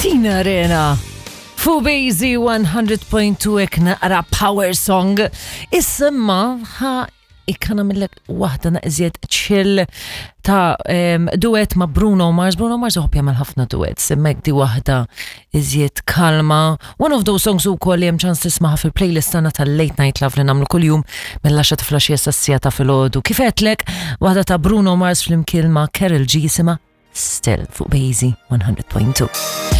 Tina Arena. Fu Bazy 100.2 ek naqra power song. Issemma ħa ikkana millek waħda naqżiet chill ta' um, duet ma' Bruno Mars. Bruno Mars uħob jagħmel ħafna duets, imma di waħda iżjed kalma. One of those songs ukoll li hemm ċans tismaħa fil-playlist tagħna tal-Late Night Love li nagħmlu kuljum mill-10 ta' flaxija sas-sija ta' filgħodu. Kif għedtlek, waħda ta' Bruno Mars flimkien ma' Karol G jisimha Still fuq Bazy 100.2.